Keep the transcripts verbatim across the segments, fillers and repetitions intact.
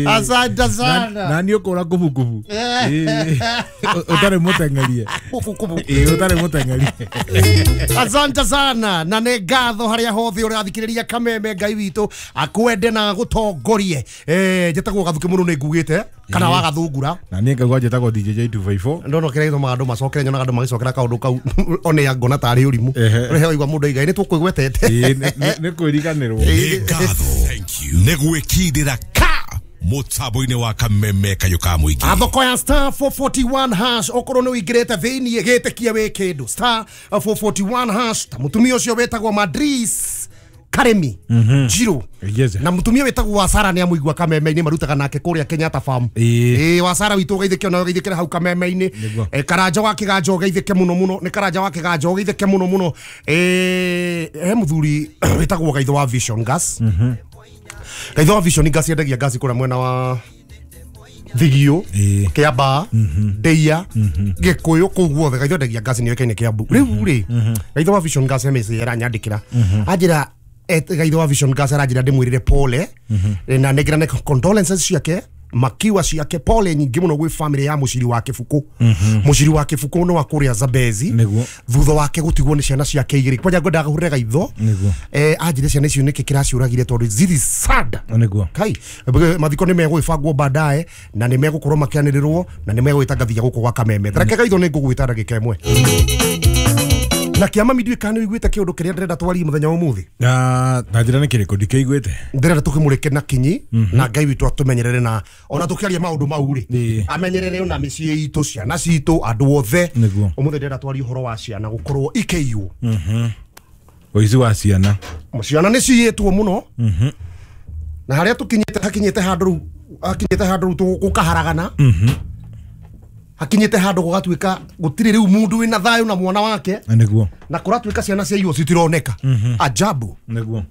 Asante sana. Na nĩ ũkũra kubukubu. Ũtarĩ mũteng'erie. Kubukubu. Ĩĩ ũtarĩ mũteng'erie. Asante sana na nĩ ngatho harĩa hothe ũrathikĩrĩria Kameme Ngai witũ akwende na gũtongorie. Eh njĩtagwo Gathuki mũno nĩ ngugĩte kana wagathungura. Na niĩ ngaigua njĩtagwo D J J two five four. Ndono kĩrĩa gĩtũmaga andũ macokere nyonaga andũ magĩcokera kaũndũ kau one ya ngona tarĩ ũrimũ. Ũrĩa waigua mũndũ aiga nĩ tũkũigwetete. Ĩĩ nĩ kwĩriganĩrwo. Nĩ ngatho. Thank you. Nĩ gwĩkindĩra ka mutambo-inĩ wa Kameme kayũ ka mũingĩ. Athoko ya star four forty-one hash okorwo nĩ ũingĩrĩte thĩiniĩ gĩtĩkie wĩ kĩndũ star four forty-one hash ta mũtumia ũcio wĩtagwo Madris Karemi Jiro na mutumia wetagwo wa Sara ni amuigua Kameme-inĩ marutaga nake kũrĩa Kenyatta Farm eh wa Sara witũ ũgeithĩke ona ũgeithĩkĩre hau Kameme-inĩ eh Karanja wa Kĩganjo ũgeithĩke mũno mũno nĩ Karanja wa Kĩganjo ũgeithĩke mũno mũno eh he mũthuri wetagwo Gaitho wa Vision Gas. Gaitho wa Vision Gas yendagia gas kũrĩa mwena wa Thigio Kiambaa Ndeia Gikuyu kũu guothe Gaitho endagia gas nĩ yoĩkaine Kiambu rĩu rĩ Gaitho wa Vision Gas he message aranyandĩkĩra anjĩra Gaitho wa Vision Gas aranjĩra ndĩmwĩrĩre pole na nengera condolences ciake makiwa ciake pole nyingĩ mũno gwĩ family ya mũciri wa Kĩbukũ. Mũciri wa Kĩbukũ nĩ wa kũrĩa Zambezi thutha wake gũtigwo nĩ ciana ciake igĩrĩ kwanja ngwendaga kũhũrĩra Gaitho eh anjĩre ciana icio nĩkĩ kĩraciũragire tondũ ziri sad kai mathiko nĩ megũgĩbangwo baadaye na nĩ megũkorwo makĩanĩrĩrwo na nĩ megũgĩtangathia gũkũ gwa Kameme. Reke Gaitho nĩ ngũgwĩta ndagĩka ĩmwe na kĩama mindiũĩ kana nĩ ũiguĩte kĩũndũ kĩrĩa ndĩrenda twarie mũthenya wa ũmũthĩ. Na njĩra nĩ kĩrĩkũ ndikĩiguĩte. Ndĩrenda tũkĩmũrĩke na kinyi na Ngai witũ atũmenyerere na ona tũkĩaria maũndũ mau rĩ amenyerere ona mĩciĩ itũ ciana citũ andũ othe. Ũmũthĩ ndĩrenda twarie ũhoro wa ciana gũkorwo ikĩiywo. Ũici wa ciana. Ciana nĩ ciyĩtwo mũno na harĩa tũkinyĩte hakinyĩte handũ rĩu hakinyĩte handũ rĩu gũkaharagana hakinyite handũ gũgatuĩka gũtirĩ rĩu mũndũ wĩna thayũ na mwana wake nĩguo na kũratuĩka ciana ciaiywo citironeka ajabu nĩguo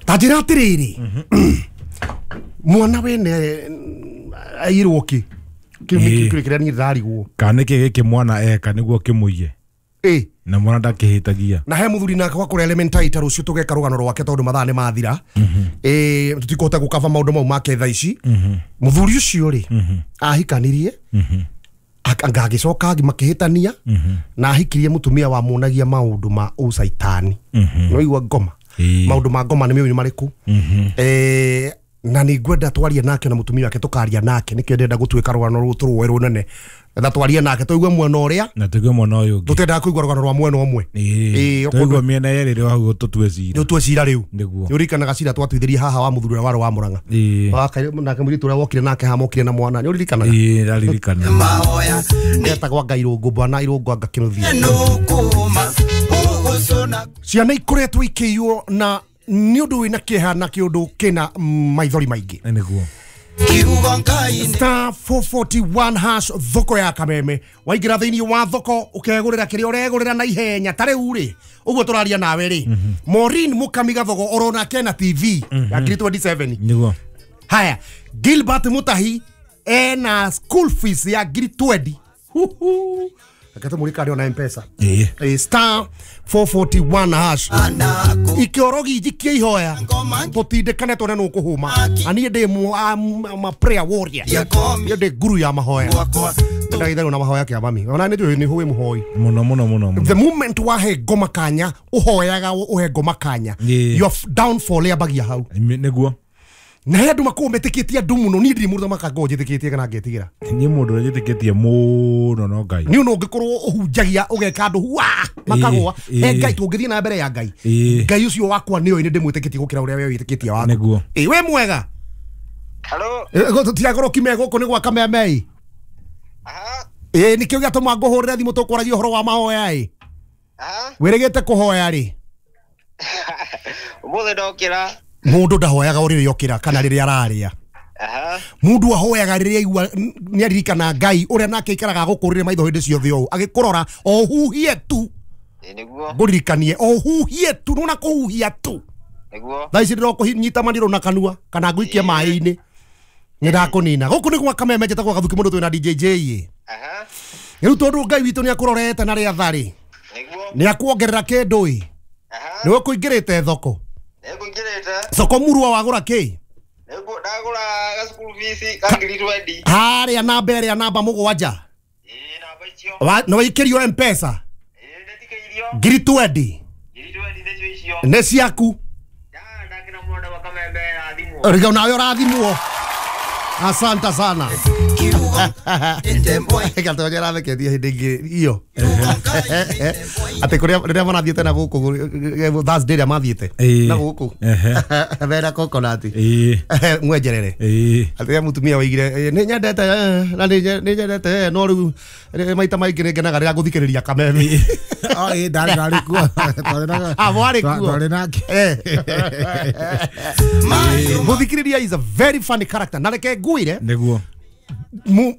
ta njĩra atĩrĩrĩ mwana wene airwo kĩ kĩu nĩkĩo kĩrĩa niĩ ndĩrarigwo kana nĩkĩ gĩkĩ mwana eka nĩguo kĩmũiye ĩ na mwana ndakĩhĩtagia na he mũthuri nake wa kũrĩa Elementaita rũciũ tũgeka rũgano rwake tondũ mathaa nĩ mathira ĩ tũtikũhota gũkaba maũndũ mau make thaa ici mũthuri ũcio rĩ ahikanirie anga agĩcoka makĩhĩtania na ahikirie mũtumia wamuonagia maũndũ ma ũcaitani nĩwaigua ngoma maũndũ ma ngoma nĩ mĩũĩ marĩkũ eh na nĩ ngwenda twarie nake na mũtumia wake tũkaria nake nĩkĩo ndĩrenda gũtuĩka rũgano rũrũ tũrũe rũnene na twarie nake tũigue mwena ũrĩa na tũigue mwena ũyũ ũngĩ tũtendaga kũigua rũgano rwa mwena ũmwe ĩĩ tũigue mĩena yerĩ rĩu hau tũtue cira tũtue cira rĩu nĩguo nĩũririkanaga cira twatuithirie haha wa mũthuri ũrĩa warĩ wa Mũrang'a nake mũirĩtu ũrĩa wokire nake haha mokire na mwana nĩũririkanaga ĩĩ ndaririkana etagwo Ngai Irũngũ bwana Irũngũ anga kĩnuthia ciana ikoretwo ikĩiywo na nĩ ũndũ wĩna kĩeha na kĩũndũ kĩna maithori maingĩ nĩguo star four forty-one hash thoko ya Kameme waingĩra thĩinĩ wa thoko ũkegũrĩra kĩrĩa ũregũrĩra na ihenya ta rĩu rĩ ũguo tũraria nawe rĩ Maureen Mukami Gathogo orona kena T V ya ngiri twenty-seven nĩguo haya Gilbert Mutahi ena school fees ya ngiri twenty akatũmũrĩka ona M-Pesa ĩĩ star four forty-one hash ikĩorogi njikie ihoya tũtindĩkane tuone nũ ũkũhũma na niĩ ndĩ ma prayer warrior niĩ ndĩ guru ya mahoya ndagĩtherwo na mahoya kĩa mami ona nĩ njũĩ nĩ hũĩ mũhoi mũno mũno mũno the moment wahe ngoma kanya ũhoyaga ũhe ngoma kanya your downfall yambagia hau nĩguo na he andũ makoragwo metĩkĩtie andũ mũno niĩ ndirĩ mũndũ makango njĩtĩkĩtie kana ngetigĩra niĩ mũndũ ũrĩa njĩtĩkĩtie mũno no Ngai niĩ no ũngĩkorwo ũhunjagia ũgeka andũ hua makagũa he Ngai tũngĩthiĩ na mbere ya Ngai Ngai ũcio wakwa nĩoĩ nĩ ndĩmwĩtĩkĩtie gũkĩra ũrĩa we wĩtĩkĩtie waku nĩguo ĩ wĩ mwega hello tũtigagorwo kime gũkũ nĩ gwa Kameme ĩ ĩ nĩkĩo gĩatũma ngũhũrĩre thimũ tũkwaragia ũhoro wa mahoya ĩ wĩrĩgĩte kũhoya rĩ ũmũthĩ ndokĩra mundu ndahoyaga rĩrĩa okĩra kana rĩrĩa ararĩa mundu ahoyaga rĩrĩa aigua nĩ aririkana Ngai ũrĩa nake aikaraga agũkũrĩre maitho hĩndĩ ciothe ũũ agĩkũrora o huhie tu nĩguo ngũririkanie o huhie tu nona kũhuhia tu nĩguo thaa ici ndĩrokũnyita manirũ na kanua kana ngũikie maĩ-inĩ nĩ ndakũnina gũkũ nĩ gwa Kameme njĩtagwo Gathuki mũndũ twĩna D J J ĩ rĩu tondũ Ngai witũ nĩ akũrorete na rĩatha rĩ nĩ akuongerera kĩndũ ĩ nĩ ũkũingĩrĩte thoko Nĩngũingĩrĩte soko murua wagũra kĩ Ndagũra gacukuru fees ka ngiri twenty. Harĩa namba ĩrĩa namba mũgwanja. Ĩĩ namba icio. Wa- nĩ waikĩrio mpesa Ĩĩ ndĩtikĩirio. ngiri twendi Ngiri twenty nĩcio icio. nĩ ciaku. Ya ndakĩna mũno wa Kameme rathimwo. Riga nawe ũrathimwo. Asante sana. Gatonya ratheketie hĩndĩ ĩngĩ iyo atĩ kũrĩa rĩrĩa marathiĩte na gũkũ Thursday rĩrĩa mathiĩte Ĩĩ. na gũkũ Ehe. mena coconut Ĩĩ. mwenjerere Ĩĩ. atĩ rĩrĩa mũtumia waigire "Eh, nĩ nyendete eh, na nĩ nye- nĩ nyendete eh, no rĩu eh, maita maingĩ nĩ ngenaga rĩrĩa ngũthikĩrĩria Kameme." Oh, ĩĩ, ndarĩ ndarĩ kuo. Twarĩ na- Ah, mwarĩ kuo. Twarĩ nake. Eh. Mũthikĩrĩria is a very funny character na reke ngwĩre Nĩguo. mu-